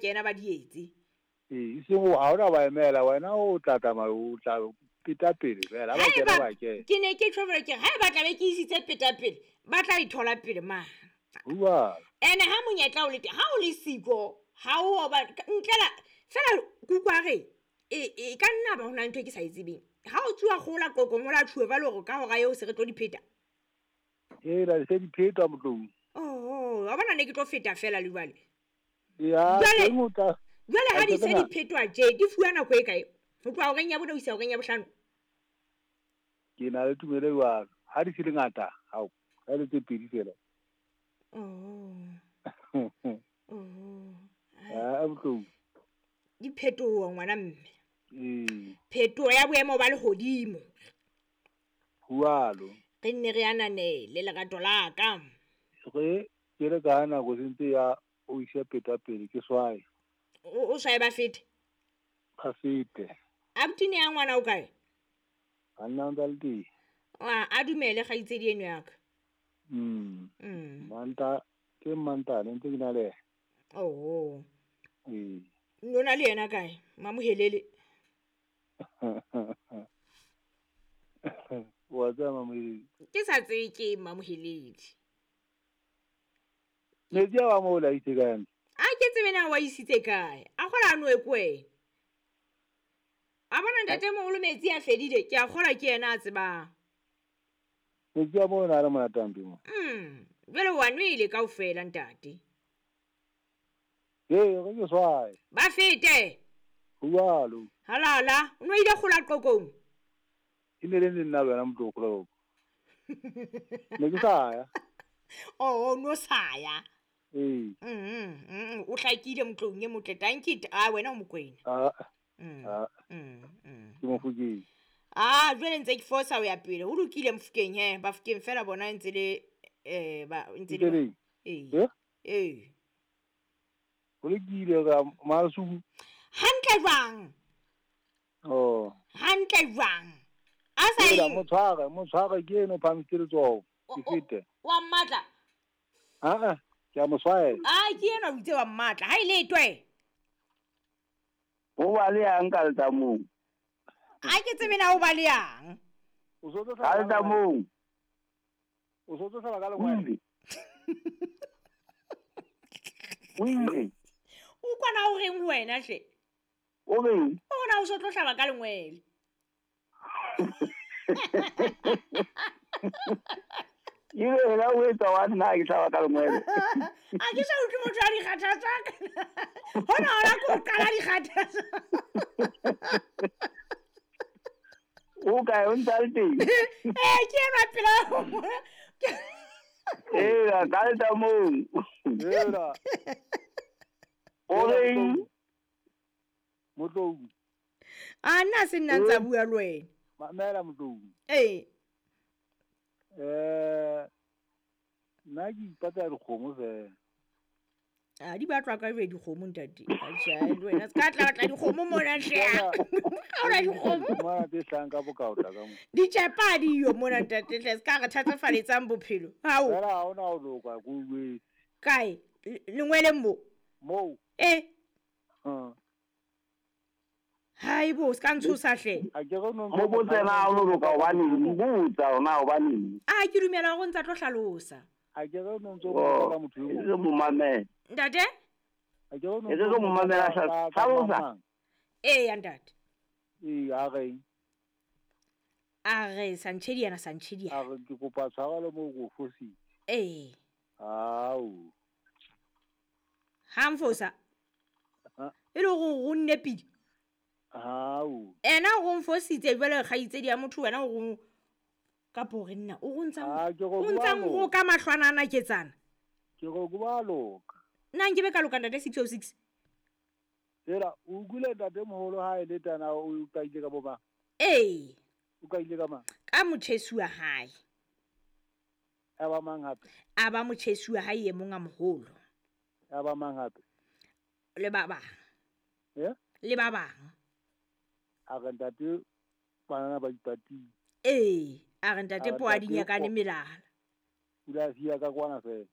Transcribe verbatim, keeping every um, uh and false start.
kena ba di etse. Ee, e seng ha ona ba emela wena o tla tsamaya o tla peta pele fela ha ba kena ba kena. Ke ne ke tjho ke ha ba tla be ke isitse peta pele ba tla ithola pele ma. Bua. Ene ha monyetla o le teng ha o le siko ha o ba ntlela fela kukwa re e e ka nna ba hona ntho e ke sa e tsebeng. Ha o tsuwa gola kokong o la tjhuwe ba le hore ka hora eo se re tlo di pheta. Ee, la se di pheta motlong. Oh, wa bona ne ke tlo feta fela le jwale. Ya, teng o tla. Jwale ha di se di phetwa tje, di fuwa nako e kae? Ho tloha horeng ya bone ho isa horeng ya bohlano. Ke na le tumelo jwalo. Ha di se le ngata, hao, ha le tse pedi fela. Oh. Oh. Ah, motlong. Di phetoho ngwana mme. Ee. Phetoho ya boemo ba lehodimo. Jwalo. Re nne re ananele lerato la ka. Re ke le ka nako sentse ya o isa peta pele ke swae. O o swae ba fete. Ba fete. Abutine ya ngwana o kae? A nna ntse le teng. A a dumele kgaitsedi eno ya ka. Mm. Mm. Manta ke manta le ntse ke na le. Oh. Ee. Nona le yena kae? Mamohelele. Wa tseba Mamohelele. Ke sa tsebe ke Mamohelele. Metsi a wa mo la itse kae? A ke tsebe na wa isitse kae? A kgola a noe kwena. A bona ntate moholo metsi a fedile, ke a kgola ke yena a tsebang. Metsi a mo na le monate hampe mo. Mm, jwale wa nwele kaofela ntate. Ee, re ke swae. Ba fete. Jwalo. Halala, o no ile kgola qokong. E ne le nna le wena motho o kgola qokong. Ne ke sa ya. Oh, no sa ya. Ee. Mm, mm, o hlakile motlong e motle. Tanki a wena o Mokwena. Ah. Mm. Ah. Mm, mm. Ke Mofokeng. Ah, jwale ntse ke fosa ho ya pele. Ho lokile Mofokeng he, Bafokeng fela bona ntse le eh ba ntse le. Ee. Eh? Ee. Ho lokile ka Masuku. Hantle jwang? Oh. Hantle jwang? A sa eng? Motshware, motshware ke eno phamisitse letsoho. Ke fete. Wa mmatla? Ah ah, ke a mo swaela. Ah, ke ena o itse wa mmatla. Ha ile twe. Ho ba le yang ka letsamong. A ke tsebe na ho ba le yang. O so tlo ka letsamong. O so tlo hlaba ka lengwele. O ile. O kwana o reng ho wena hle? O reng? O na o so tlo hlaba ka lengwele. Ile la o etsa wa nna ke hlaba ka lengwele. A ke sa utlwe motho a dikgathatsa. Hona hona ko qala dikgathatsa. O kae o ntse le teng? Eh, ke ena pela. Eh, ka letsamong. Ela. O reng? Motlou. A nna se nna ntsa bua le wena. Mamela Motlou. Ee. Eh, nna ke ipatla dikgomo fela. A di batlwa ka jwe dikgomo ntate. Atjha, le wena se ka tla batla dikgomo mona hle. Ha ona dikgomo. Mona tse hlahang ka bokaota ka mo. Ditjhepa di yo mona ntate hle, se ka re thatafaletsang bophelo. Hao. Fela ha ona ho loka ko jwetse. Kae? Lengweleng mo? Moo. Eh. Ha. Hai bo, se ka ntshosa hle. A ke re no mo botse na o loka hobane botsa ona hobane. A ke dumela hore ntsa tlo hlalosa. A ke re no ntso botsa motho yo. E mo mamela. Ntate? A ke re no. E re mo mamela hlalosa. Ee ya ntate. Ee, a re. A re Santshedi yana Santshedi. A re ke kopa tshwarelo mo go fositse. Ee. Ao. Ha mfosa. E le go go nne pidi. Hao. Ena o mfositse jwale kgaitsedi ya motho wena o ka pore nna o go ntsa o ntsa go ka mahlwana ana ketsana. Ke go go ba loka. Nna nke be ka loka ntate six oh six. Tsela o gule ntate moholo ha e le tana o ka ile ka boba. Ee. O ka ile ka mang? Ka motjhesu wa hae. A ba mang hape? A ba motjhesu wa hae e mong a moholo. A ba mang hape? Le ba bang. Eh? Le ba bang. A re ntate bana ba ipatile. Ee, a re ntate po a dinyakane melala. O la sia ka kwana fela.